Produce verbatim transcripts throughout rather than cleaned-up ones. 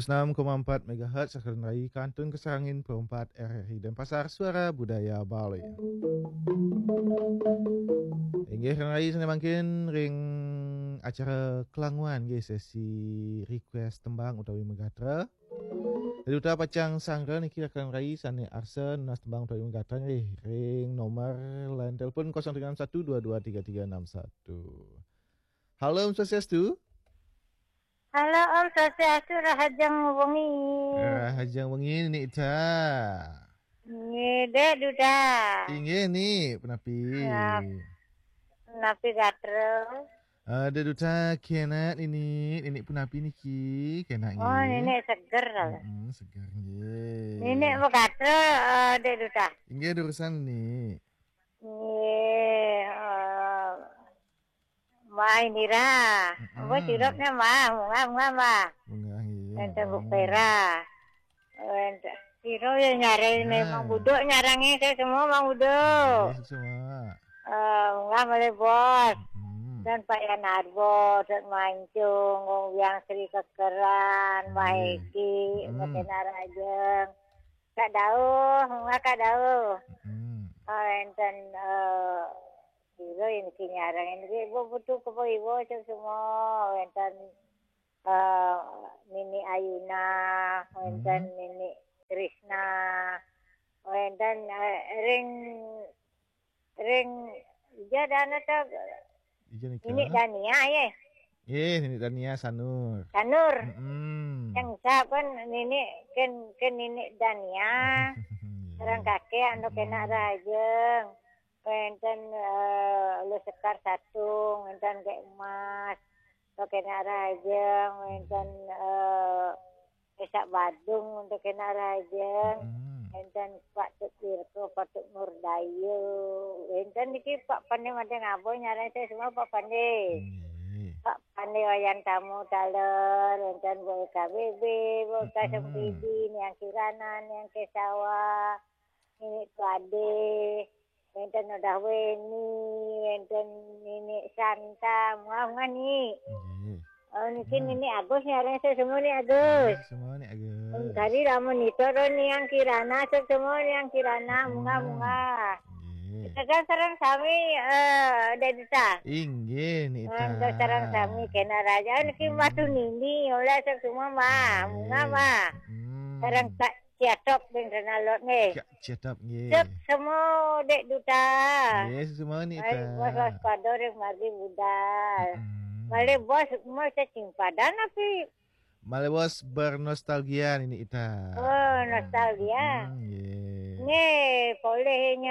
Enam koma empat megahertz, Sakeran Rai, Kantun Kesarangin, Pro empat R R I Denpasar, Suara Budaya Bali. Inggih, Rai, sané mangkin ring acara Kelanguan, nggih, sesi request tembang utawi megatra. Duta pacang sanggra niki, Rekan Rai, sané arsa nunas tembang utawi megatra, nggih, ring nomor line telepon kosong tiga enam satu dua dua tiga tiga enam satu. Halo, Om Swastiastu. Halo, Om Swastiastu, rahajeng wengi. Rahajeng wengi, Ni Ita. Nggih, Dék Duta. Inggih, Ni, punapi? Nap-, napi gatra? Eh, Dék Duta, kénak, Ni, Ni punapi niki, kénak nggih. Oh, Ni seger. Mm-mm, seger nggih. Ni megatra, eh, Dék Duta. Inggih, durusang, Ni. Nggih, eh, Mbah Indira. Mm-mm. Apa sirupnya, Mbah? Munggah, munggah, Mbah. Munggah, nggih. Enten Bu Pera. Enten. Sira ya nyarani Mang Buduk, nyarani saya semua Mang Buduk. Nggih, semua. Eh, munggah malih Bos. Mm-mm. Dan Pak Yanarbo, dan Mancung, Wong Wiang Sri Kekeran, Mbah Eki, Mbah Kenak Rajeng. Kak Dauh, munggah Kak Dauh. Mm-mm. Eh, enten, eh, sira niki nyarani niki, Ibu Putu Kepo Ibu, semua. Enten, eh, Nini Ayuna, wénten Nini Krisna, wénten, eh, ring, ring, ija dana ta, ija nika? Nini Dania, ya. Nggih, Nini Dania Sanur. Sanur. Mm-mm. Yang saben Nini ken, ken Nini Dania. Iya. Orang kakek anu Kenak Rajeng. Wénten, eh, Lu Sekar Satung, wénten Gék Emas, Lu Kenak Rajeng, wénten, eh, Esak Badung, Lu Kenak Rajeng, wénten Pak Tut Wirko, Pak Tut Nurdayu, wénten niki Pak Pandé Madé Ngabo, nyarani saya semua Pak Pandé. Nggih. Pak Pandé Wayan Tamu Taler, wénten Bu K B B, Bu K Sempidi, Niang Kirana, Niang Kesawa, Nini Pade, wénten Udah Weni, wénten Nini Santa, munggah, munggah, Ni. Nggih. Oh, niki Nini Agus nyarani saya semua, Ni Agus. Nggih, semua, Ni Agus. Tadi lamun nito ro Niang Kirana, saya semua Niang Kirana, munggah, munggah. Nggih. Kita kan sareng sami, eh, Dék Duta. Inggih, Ni Ita. Sareng sami Kenak Rajeng niki Mbah Tunini, oleh saya semua, Mbah. Nggih. Munggah, Mbah. Mm. Sareng Kak Ciatop ring Tenalot nggih. Kak Ciatop nggih. Sukses semua Dék Duta. Nggih, sukses semua Ni Ita. Bos waspada ring margi budal. Mm-mm. Malih Bos, mau cacing padan api? Malih Bos bernostalgia Ni Ita. Oh, nostalgia. Mm, nggih. Nggih, polih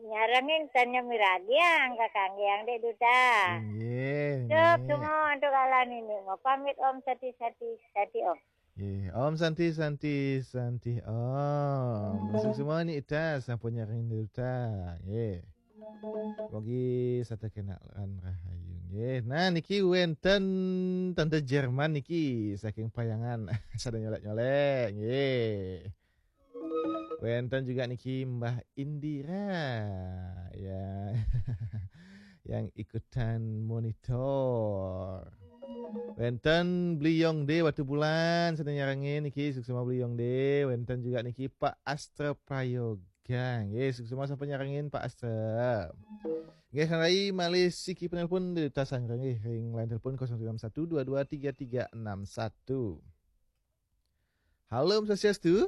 nyarengin tanya miragi ang kakangge ang Dék Duta. Nggih. Cukup nggih. Semua untuk kala niki. Mau pamit Om, Santi, Santi, Santi Om. Nggih, Om Santi, Santi, Santi Om. Sukses semua Ni Ita, sampun nyarengin Duta. Nggih. Mugi setata kenalan rahayu. Nggih. Nah, niki wénten Tante Jerman niki saking Payangan. Sada nyolek-nyolek. Nggih. Wénten juga niki Mbah Indira. Ya. Yang ikutan monitor. Wénten Bli Yong De Batubulan, sada nyarengin niki, suksma Bli Yong De. Wénten juga niki Pak Astra Prayoga. Nggih, suksma sampun nyarengin Pak Astra. Nggih, Kang Rai, malih siki penelpon di tasan nggih ring line telepon kosong tiga enam satu dua dua tiga tiga enam satu. Halo, Om Swastiastu.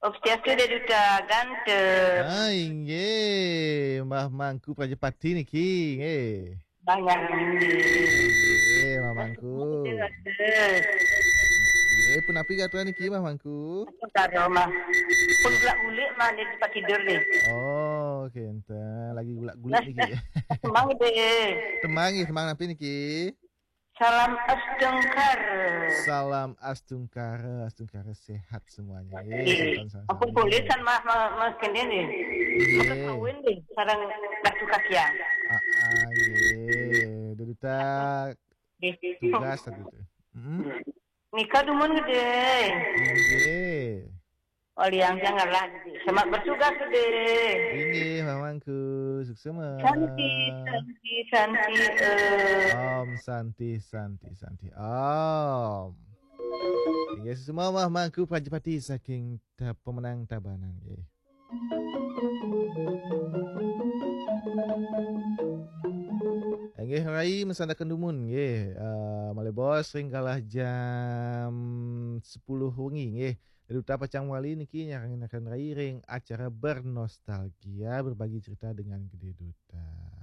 Om Swastiastu, Dék Duta ganteng. Ah, inggih, Mbah Mangku Prajapati niki, nggih. Mbah Nyarwi. Nggih, Mbah Mangku. Nggih, punapi gatra niki, Mbah Mangku? Karo, Mbah. Pun gelak gulik, Mbah, di tempat tidur nih. Oh, kenten. Lagi gulak-gulik niki. Tembang deh. Tembang nggih, tembang napi niki? Salam astungkara. Salam astungkara, astungkara sehat semuanya. Nggih. Salam, salam, ampun salam. Polih kan Mas, Mas, Mas Kendi nih. Nggih. Mas kawin nih, sareng Ratu Kakian. Ah, ah, nggih. Duduta tugas tadi itu. Mm-mm. Nika dumun gedé. Nggih. Oliang janganlah gedé. Semangat bertugas gedé. Inggih, Mamangku. Suksma. Santi, Santi, Santi, eh. Om Santi, Santi, Santi. Om. Inggih, Semamah Mangku Prajapati saking ta, pemenang Tabanan nggih. Nggih, rai mesandaken dumun nggih. Uh, malih bos ring galah jam sepuluh wengi nggih. Duta pacang wali niki nyarengin rai ring acara bernostalgia, berbagi cerita dengan Gede Duta.